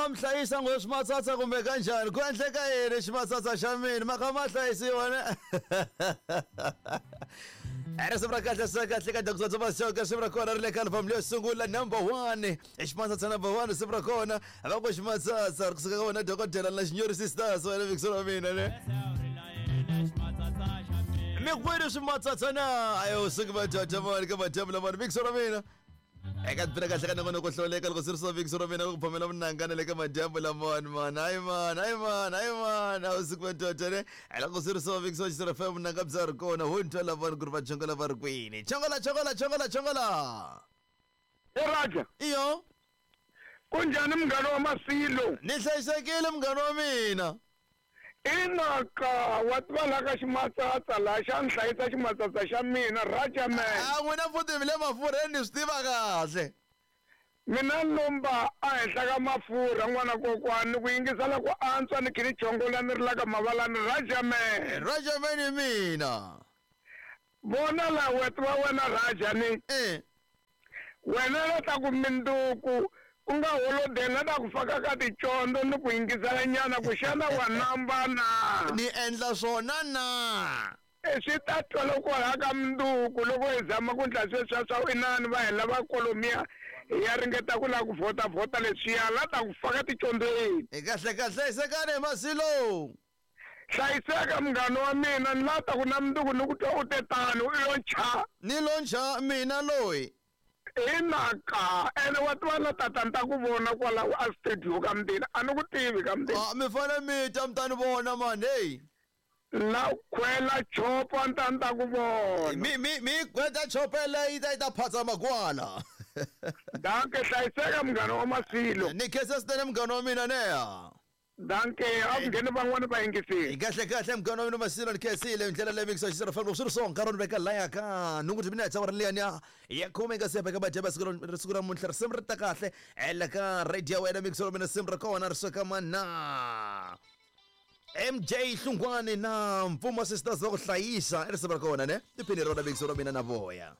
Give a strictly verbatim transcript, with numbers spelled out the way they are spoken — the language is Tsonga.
ma mi hlayisa ngo swimatsatsa kumbe kanjhani ku endleka yini ximatsatsa xa mina ma kha ma hlayisiwa ne risimu ra kahle sa kahle ka Doctor Thomas risimu ra kona ri le ka album leyo sungula number one ximatsatsa number one risimu ra kona va ku ximatsatsa ri kusuka ka wena dokodela na Xinyori Sisters wena mixo wa mina ne mi kwini swimatsatsa na ayo suku madoda mani ka madyambu lamani mixo wa mina eka bira kahle ka nongonoko hlawuleka loko swi ri swa mixo wa mina ku phomela munangana le ka madyambu lamani mani hayi mani hayi mani hayi mani a wu suku madoda ne loko swi ri swa mixo wa Xisera F M munanga bya ri kona ho ni twa lavani ku ri va chongola va ri kwini chongola chongola chongola chongola e Raja iyo kunjani munghana wa Masilo ni hlayisekile munghana wa mina inaka wa tiva la ka ximatsatsa laha xa ni hlayisa ximatsatsa xa mina Raja man a n'wina futhi mi le mafurheni ni swi tiva kahle mina lomba a henhla ka mafurha n'wana kokwani ni ku yingisela ku antswa ni khe ni chongola ni ri la ka mavalani Raja man Raja man hi mina vona la wa tiva wena Raja ni eh wena la ta ku minduku ku nga holodeni la ta ku faka ka ticondzo ni ku yingisela nyana ku xana wa namba na ni endla swona na e swi ta twala kwalaha ka minduku loko hi zama ku ndla sweswiya swa inani va hela va kolomiya hi ya ringeta ku lava ku vhota vhota leswiya la ta ku faka ticondzweni hi kahle kahle hlayisekani hi Masilo hlayiseka munghana wa mina ni la ta ku na minduku ni ku twa u te tano u lo ncha ni lo ncha mina loyi inaka ene wa tiva na tata ni ta ku vona kwalaho a studio ka mundini a ni ku tivi ka mundini a mi fane mi ta mi ta ni vona mani heyi la khwela chopa ni ta ni ta ku vona mi mi mi gweta chopela yi ta yi ta phatsa magwala danke hlayiseka munghana wa Masilo ni khensa swinene munghana wa mina neya danke a ku ngheni van'wani va yingisile kahle kahle munghana wa mina Masilo ni khensile ndlela leyi mixo Xisera F M loko swi ri so nkarhi ni veka laya ka nhungu timinetse awara liyani ya ya khume nga se beka madyambu siku ra siku ra namuntlha risimu ri ta kahle ela ka radio ya wena mixo wa mina risimu ra kona ri suka mana M J Hlungwani na Mpfumo Sisters va ku hlayisa i risimu ra kona ne tiphini rona mixo wa mina na voya.